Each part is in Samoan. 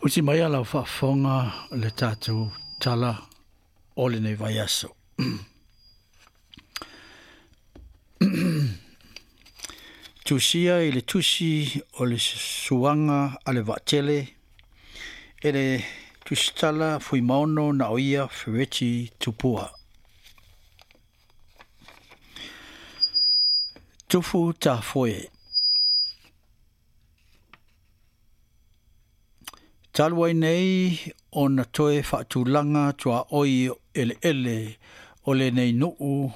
Usi mai a lau faafofoga le tatou tala o lenei vaiaso. Tusia i le tusi o le Suaga a le Vaatele e le Tusitala Fuimaono na o ia Fereti Tupua. Tufu Tafoe. Talu ai nei ona toe faatulaga tuaoi eleele o lenei nuu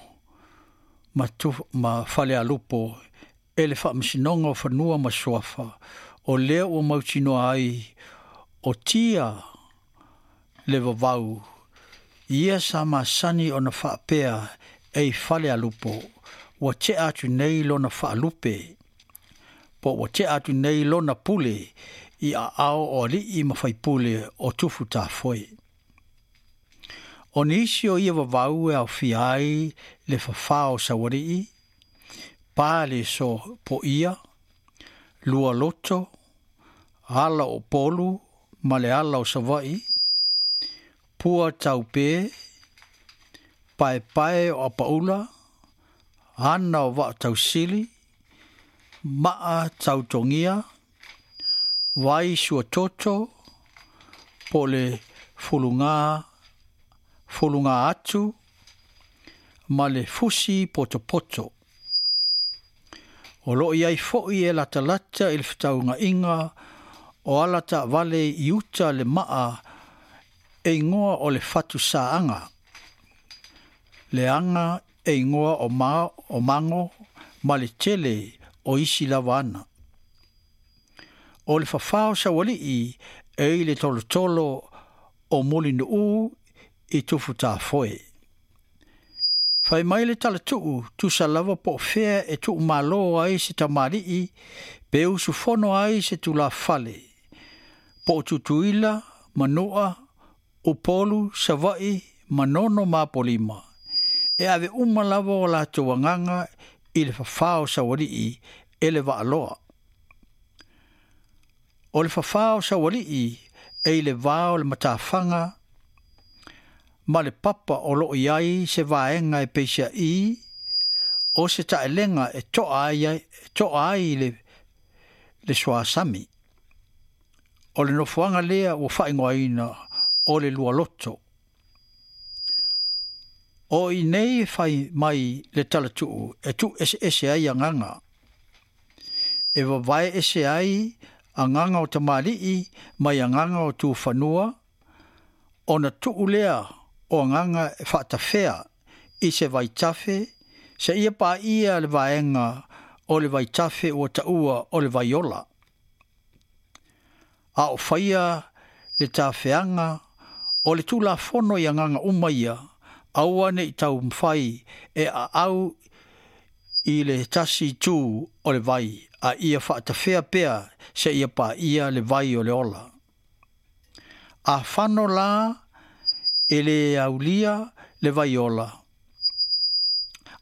ma, tu, ma Falealupo e le Faamasinoga o Fanua ma Suafa, o lea ua mautinoa ai o tia le vavau ia sa masani ona faapea e i Falealupo ua tea atu nei lona faalupe po ua tea atu nei lona pule i aao o alii ma faipule o Tufu Tafoe. O nisi o ia vavau e aofia ai le fafā o Saualii, pa le so poia, lua loto, ala o Polu ma le ala o Savaii, pua taupe, paepae o Apaula, ana o Vaatausili, maa tautogia, vai suatoto, po le fuluga, fuluga atu, ma le fusi potopoto. O loo i ai foi e latalata i le fetauga'iga o ala taavale i uta le maa e igoa o le fatusaaga, le aga e igoa o, ma, o mago ma le tele o isi lava ana. O le fafā o Saualii e i le tolotolo o Mulinuu i Tufutafoe. Fai mai le talatuu tusa lava po o fea e tuumalo ai se tamalii pe usufono ai se tulafale, po o Tutuila, Manua, Upolu, Savaii, Manono ma Apolima. E ave uma lava o latou agaga i le fafā o Saualii e le Vaaloa. O le fafā o Saualii e i le va o le matafaga ma le papa o loo i ai se vaega e peisia'i o se taelega e toa ai, e toa ai le, le suasami. O le nofoaga lea ua faaigoaina o le lualoto. O i nei fai mai le talatuu e tuu eseese ai agaga. E vavae ese ai agaga o tamalii mai agaga o tufanua, ona tuu lea o agaga e faatafea i se vaitafe, seia paia le vaega o le vaitafe ua taua o le vaiola. A o faia le tafeaga o le tulafono i agaga uma ia, aua ne i taumafai e aau i le tasi itu o le vai, a ia faatafea pea seia paia le vai o le ola. A fano la e le aulia le vaiola.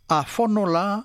A fono la